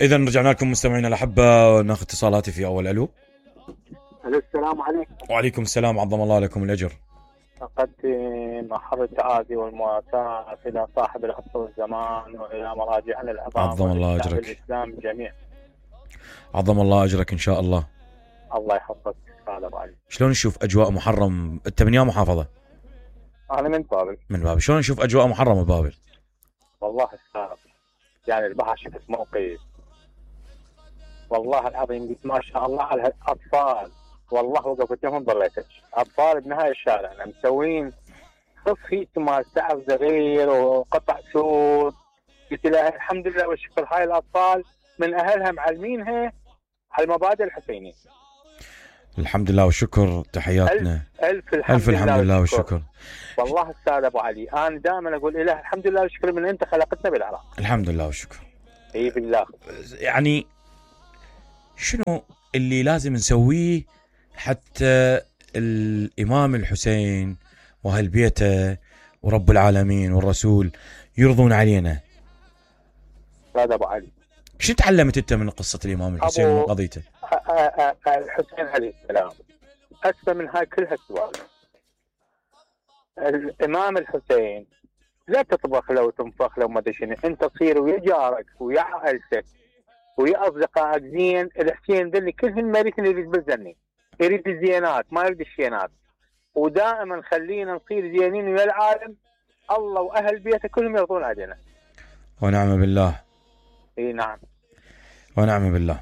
إذا رجعنا لكم مستمعينا الأحبة وناخذ اتصالاتي في أول. ألو. السلام عليكم. وعليكم السلام، عظم الله لكم الأجر. أقدم أحر التعازي والمواساة إلى صاحب العصر والزمان وإلى مراجعنا العظام، عظم الله أجرك. الإسلام جميع. عظم الله أجرك إن شاء الله. الله يحفظك. شلون نشوف أجواء محرم؟ أنت من يا محافظة؟ أنا من بابل. من بابل. شلون نشوف أجواء محرم ببابل؟ والله السلام، يعني البحر شفت موقف والله العظيم ما شاء الله على الأطفال، والله وقفت لهم ضليتك أطفال بنهاية الشارع أنا مسوين صفي مال سعر صغير وقطع سود. قلت له الحمد لله والشكر هاي الأطفال من أهلها معلمينها على المبادئ الحسينية. الحمد لله والشكر. تحياتنا. ألف الحمد لله والشكر. والله أستاذ أبو علي أنا دائما أقول إله الحمد لله والشكر من أنت خلقتنا بالعراق. الحمد لله والشكر. إي بالله. يعني شنو اللي لازم نسويه حتى الإمام الحسين وأهل بيته ورب العالمين والرسول يرضون علينا؟ أستاذ أبو علي، شو تعلمت أنت من قصة الإمام الحسين وقضيته؟ الحسين عليه السلام أكثر من هاي كلها السؤال. الإمام الحسين لا تطبخ له وتنفخ له وما ادري شنو، أنت تصير ويا جارك ويا عائلتك ويا أصدقائك زين. الحسين ذني كلهن مريثن يريد بالزني، يريد الزينات ما يريد الشينات، ودائما خلينا نصير زينين ويا العالم الله وأهل بيته كلهم يرضون علينا. ونعم بالله. اي نعم. ونعم بالله.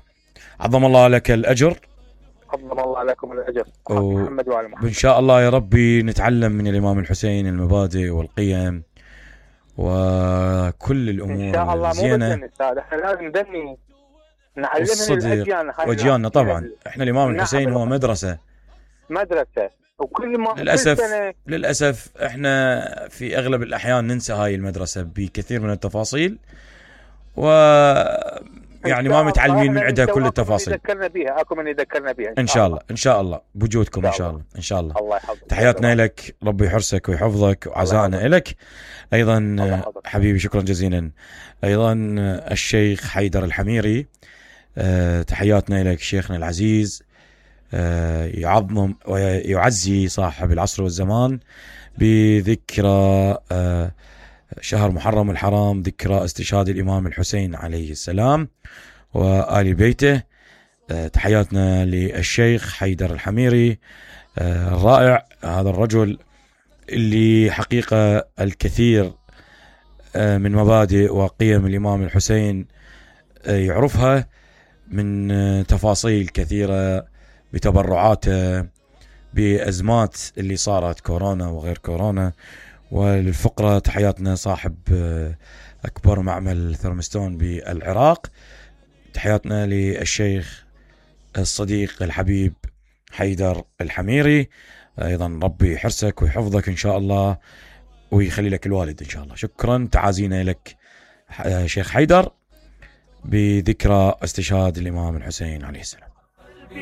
عظم الله لك الأجر. عظم الله لكم الأجر. محمد وعلى محمد. إن شاء الله يا ربي نتعلم من الإمام الحسين المبادئ والقيم وكل الأمور إن شاء الله. زينة. مو بس احنا لازم نبني نعلمهم الأجيال وأجيالنا. طبعا احنا الإمام الحسين هو مدرسة وكل ما للأسف احنا في أغلب الأحيان ننسى هاي المدرسة بكثير من التفاصيل، يعني ما متعلمين من عندها كل التفاصيل. يذكرنا بها، اكو من يذكرنا بها ان شاء الله بوجودكم ان شاء الله. الله يحفظك. تحياتنا لك، ربي يحرسك ويحفظك، وعزائنا لك ايضا حبيبي. شكرا جزيلا. ايضا الشيخ حيدر الحميري، تحياتنا لك شيخنا العزيز. يعظم ويعزي صاحب العصر والزمان بذكرى شهر محرم الحرام، ذكرى استشهاد الإمام الحسين عليه السلام وآل بيته. تحياتنا للشيخ حيدر الحميري الرائع، هذا الرجل اللي حقيقة الكثير من مبادئ وقيم الإمام الحسين يعرفها من تفاصيل كثيرة بتبرعاته بأزمات اللي صارت كورونا وغير كورونا. وللفقرة تحياتنا صاحب أكبر معمل ثرمستون بالعراق، تحياتنا للشيخ الصديق الحبيب حيدر الحميري. أيضا ربي يحرسك ويحفظك إن شاء الله ويخلي لك الوالد إن شاء الله. شكرا. تعازينا لك شيخ حيدر بذكرى استشهاد الإمام الحسين عليه السلام.